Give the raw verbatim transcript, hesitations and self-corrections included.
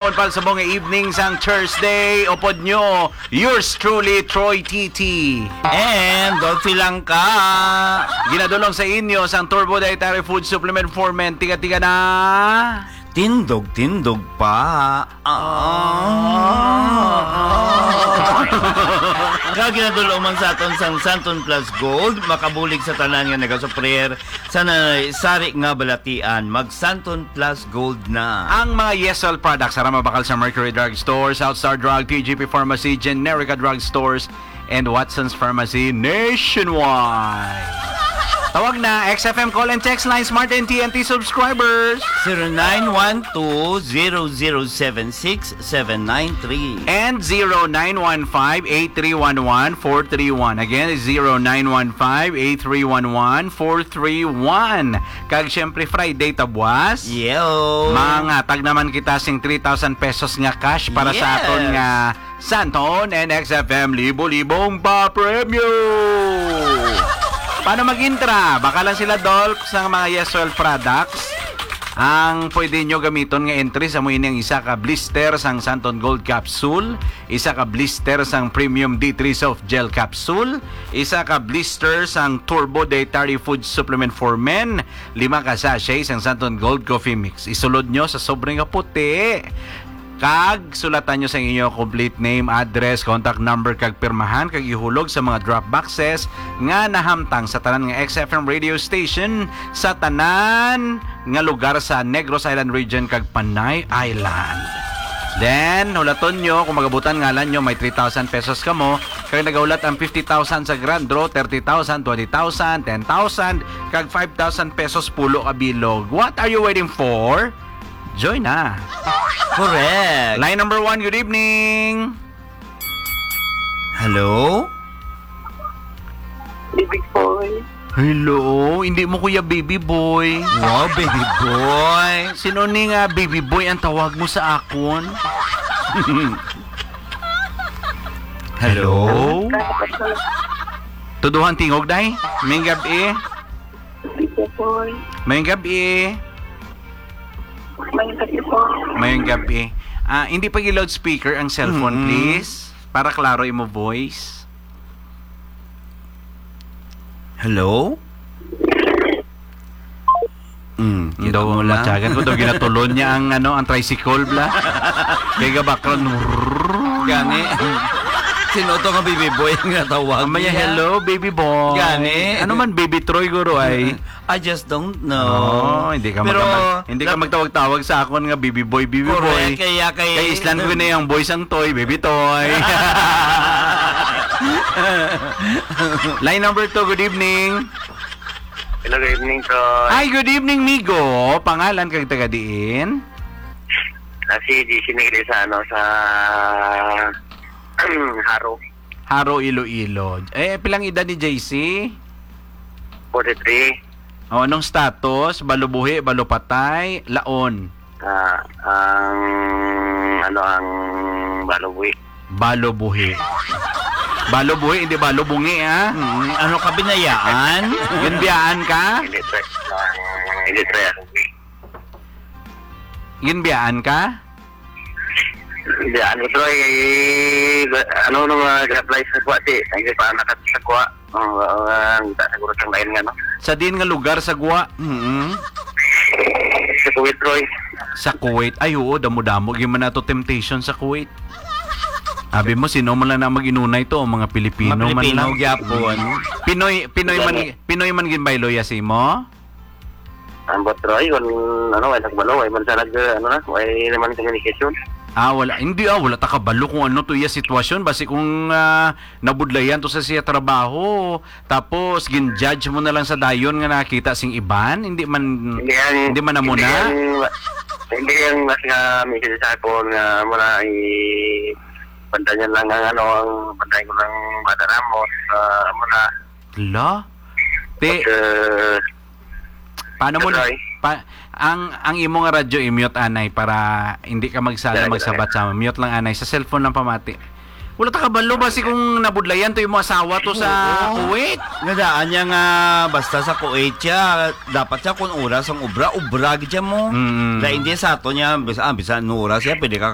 Pal sa mga evening sang Thursday, upod nyo, yours truly, Troy T T. And Dolphy lang ka. Ginadulong sa inyo sang Turbo Dietary Food Supplement for Men. Tiga-tiga na. Tindog-tindog pa. Ah. Kag ginadulong man sa aton sang Santon Plus Gold, makabulig sa tanan nga nagasuprir sa nanay sari nga balatian, mag Santon Plus Gold na. Ang mga Yesol products, ara mabakal sa Mercury Drug Store, South Star Drug, T G P Pharmacy, Generica Drug Stores, and Watson's Pharmacy nationwide. Tawag na, X F M call and text line, Smart and T N T subscribers. Zero nine one two, zero zero seven six, seven nine three. And zero nine one five, eight three one one, four three one. Again, it's zero nine one five, eight three one one, four three one. Kag syempre, Friday ta buwas. Yo. Manghatag naman kita sing three thousand pesos nga cash para sa Yes. aton nga Santon and X F M libo-libong papremyo. Paano mag-intra? Baka lang sila Dolph sa mga Yeswell products. Ang pwede nyo gamiton nga entry sa mo ini ang isa ka blister sang Santon Gold Capsule, isa ka blister sang Premium D three Soft Gel Capsule, isa ka blister sang Turbo Dietary Food Supplement for Men, lima ka sachet sang Santon Gold Coffee Mix. Isulod nyo sa sobre nga puti. Kag sulatan nyo sa inyo complete name, address, contact number, kag pirmahan, kag ihulog sa mga drop boxes nga nahamtang sa tanan nga X F M radio station sa tanan nga lugar sa Negros Island Region kag Panay Island. Then, hulaton nyo kung magabutan ngalan nyo, may three thousand pesos kamo. Kag nagahulat ang fifty thousand sa grand draw, thirty thousand, twenty thousand, ten thousand, kag five thousand pesos pulo ka bilog. What are you waiting for? Join na. Correct. Line number one, good evening. Hello? Baby boy. Hello, hindi mo kuya baby boy. Wow, baby boy. Sino ni nga baby boy ang tawag mo sa akon? Hello? Tuduhan tingog, day. May gabi. Baby boy. May gabi. May gabi po. May gabi. Ah, hindi pa i-loudspeaker ang cellphone, Mm-mm. please. Para klaro imo voice. Hello? Mm, kita Daw mo lang. Matyagan ko, daw ginatulon niya ang, ano, ang tricycle, bla. Kaya ga background, Gani. Sino to nga baby boy nga tawag Amaya, niya? Hello, baby boy. Gani. Ano man, baby Troy, guro, ay? I just don't know. Oh, hindi ka Pero magka-, hindi ka nap- magtawag-tawag sa akon nga baby boy, baby Correct, boy. kaya kay Kay Islan ko na yung boy sang toy, baby toy. Line number two, good evening. Hello, good evening, Troy. Hi, good evening, Migo. Pangalan kag taga diin? Ah, si J C Negre sa, ano, sa Haro. Haro, Iloilo. Eh, pilang edad ni J C? Forty-three. O, anong status? Balubuhi, balupatay, laon? Ah, ang, ano, ang balubuhi. Balubuhi. Balubuhi, hindi balubungi, ha? Mm, ano ka, binayaan? Ginbiyaan ka? Hindi, pre. Ah, hindi, pre. Ginbiyaan ka? Hindi, ano, Troy, ano, nung, ah, ga-apply sa kuwa, di, hindi pa nakat sa kuwa. Ang, ah, ang ta-, siguro sang lain nga, no? Sa diin nga lugar sa Guwa? Mm. Sa Kuwait, Troy. Sa Kuwait. Ay, oo, damo-damo. Gyud man nato temptation sa Kuwait. Abi mo, sino man lang na mag-inunay to? Mga Pilipino Mga man Pilipino lang. gyapon. Pinoy, Pinoy man, Gani. Pinoy man ginbayloya si mo? Ambot, Troy, kung, ano, way nagbalo, way man sa nag-, ano na, way naman communication. Ah, wala. Hindi, ah, wala ta kabalo kung ano to iya sitwasyon. Basi kung, ah, nabudlayan to sa siya trabaho, tapos gin-judge mo na lang sa dayon nga nakita sing iban, hindi man, Hindi ang, hindi man amo hindi na. ang, hindi ang mas nga message sa akon nga muna i-, bantayan lang ang, ano, ang bantayan ko ng Bata Ramos, ah, muna. Hala? Te, But, uh, paano mo na, Troy? pa, ang, ang imo nga radyo i-mute, anay, para hindi ka magsala, Dali, magsabat dali. sa mute lang, anay. Sa cellphone lang pamati. Wala ta kabalo ba si kung nabudlayan to yung mga asawa to sa Oo. Kuwait? Nga daan niya nga basta sa Kuwait siya, dapat siya kung oras ang obra, obra gid siya mo. Mm. Dahil hindi sa ato niya, bisa, ah, bisa no oras siya, pwede ka